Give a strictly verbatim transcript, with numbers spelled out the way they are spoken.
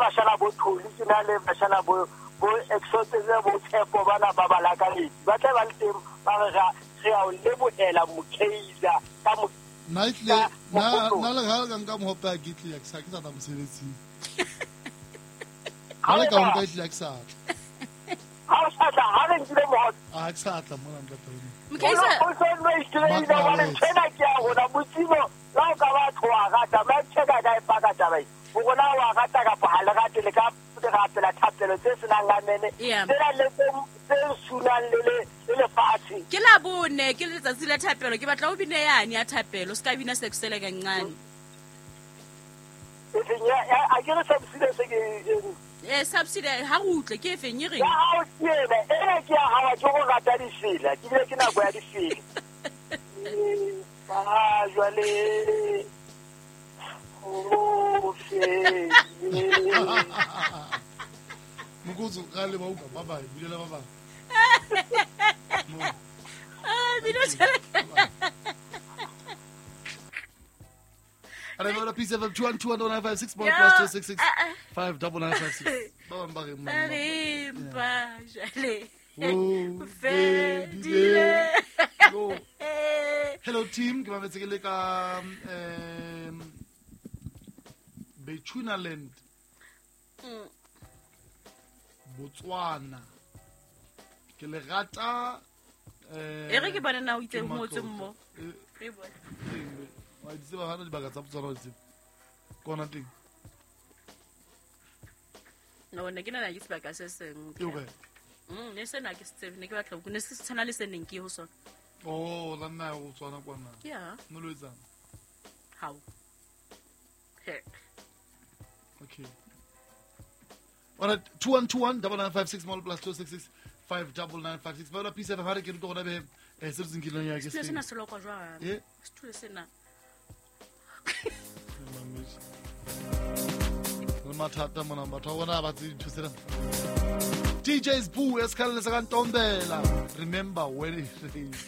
bashana bo Tholi, ke na le bashana bo bo exotse bo tshepo bana ba ba lakaletse. Ba tla ba le teng ba re ra re a o lebohela Mokeiza ka mo nna ehlile nna nna le ga ka nka mohope a ke tle ke sa ke sa tla mosebetsing. Ha le ka nka ehlile ke sa tla. Ha o sa tla ha re nkile mohope. A ke sa tla mona ntate. Mokeiza o so no itlile ile wa le tshena ke a rona Modimo la o ka ba tloa rata ba tsheka ka e paka taba e. O rona wa rata kapa ha le rate le ka re rapela thapelo tse senang amene tsena le tse sunang le le lefatshe. Ke la bone ke letsatsi la thapelo ke batla o bine yane ya thapelo se ka bina sekusele kancane. E feng ya a ke re subsidy se ke eh subsidy ha re utlwe ke e feng e reng? Ya ha o tiene ene ke ya hawa ke go rata difela ke bile ke nako ya difela. Ba jwale o fe. Mokotso ga le ba utlwa ba ba bulela ba ba. Ah, bino tjela. Are ba P seven two one two one nine five six one plus two six six five double nine five six. Ba bang ba re mang. Ba jale. O fedile. Hello team, ke ba metse ke le ka um Bechuanaland. Mm. Botswana. Ke le rata eh e re ke bana na o itse mo tse mo. Re bone. Wa di tseba hana dibaka tsa Botswana wa di tseba. Kona teng. No, ne ke na ke sebaka se seng. Ke kae? Mm, ne sena ke se tsebe, ne ke batla ne se tshwana le se neng ke ho sona. Oh, la nna o tswana kwana. Yeah. No lo etsang. How? He. Okay. All right, two one two one double nine five six more plus two six six five double nine five six. Ba la P seven ha re ke rutwa gona be eh se re tseng ya ke se. Sena se lokwa jwang? Eh? Sethulo sena. Le mathata mona batho ba bona ba tse dintho tsena. D J's Boo esikhalele saka Ntombela. Remember when it rains.